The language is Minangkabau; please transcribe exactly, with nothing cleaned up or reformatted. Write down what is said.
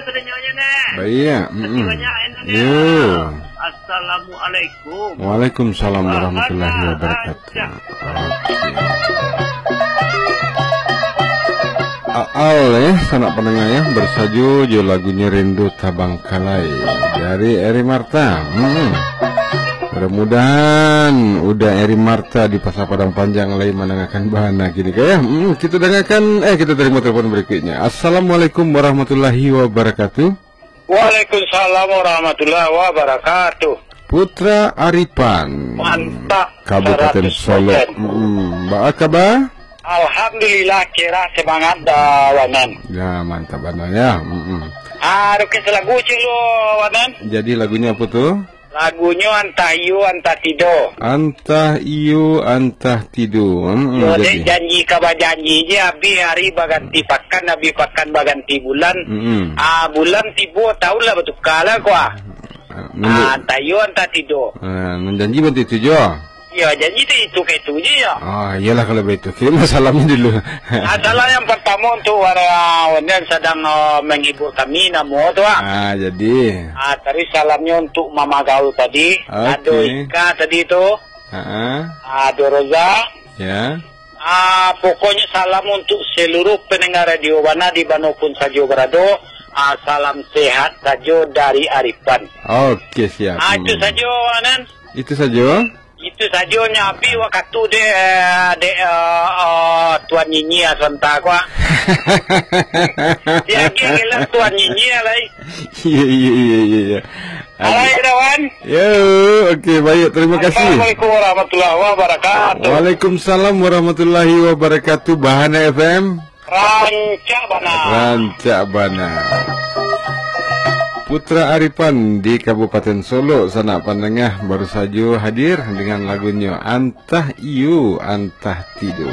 Sadanyo neh. Baik. Makasih Mm-mm. banyak, Neh. Yo. Assalamualaikum. Waalaikumsalam warahmatullahi Bahana wabarakatuh. Rancak. Oke. Aal, eh, sanak pandanga, ya, baru sajo jo lagunyo Rindu Tabangkalai dari Eri Marta. Hmm. Mudah-mudahan udah Eri Marta di Pasar Padang Panjang lai mandangakan bahana kini, ya. Hmm, kita dengarkan, eh, kita terima telepon berikutnya. Assalamualaikum warahmatullahi wabarakatuh. Waalaikumsalam warahmatullahi wabarakatuh. Putra Aripan. Mantap, Kabupaten saratus persen. Solok. Mm, baa kaba? Alhamdulillah, kira semangat dah, Wanan. Ya, mantap bana ya. Mm-mm. Ah, request lagu cik lu, Wanan. Jadi lagunyo apo tu? Lagunyo Antah Iyo, Antah Tido. Antah iyo, antah tido. Mm-mm, Yo, jadi. Dek janji ka bajanji je, abih hari baganti pakan, abih pakan baganti bulan. Mm-mm. Ah, bulan tibo, taun lah batuka lah ko, ah. Ah, nunggu. Ah, antah iyo, antah tido. Ah, nan janji bantu itu jo. Yo, janji tu itu ka itu je, yo. Ah, iyolah kalau baitu. Kirim salamnyo dulu. Ah, salam yang pertamo untuk wara-, yang sedang, ah, menghibur kami, namo tu, ah. Ah, jadi. Ah, tadi salamnyo untuk Mama Gaul tadi. Oke. Ado Ika tadi tu. Ha-ha. Ah, ado Roza. Ya. Ah, pokoknyo salam untuk seluruh pendengar Radio Bana di mano pun sajo berado. Ah, salam sehat sajo dari Aripan. Oke, siap. Ah, itu Hmm. sajo, Nan. Itu sajo? Itu sajo nyo abih wakatu dek, dek, eh, eh, Tuan Nyinyia sonta ko, ah. Dia agiah gelo Tuan Nyinyia lai. Iya, iya, iya, iya, iya. Alai, kawan. Yo, oke, baik, terima kasih. Assalamualaikum warahmatullahi wabarakatuh. Waalaikumsalam warahmatullahi wabarakatuh. Bahana F M. Rancak bana. Rancak bana. Putra Aripan di Kabupaten Solok, sanak pandanga, baru sajo hadir dengan lagunyo Antah Iyo, Antah Tido.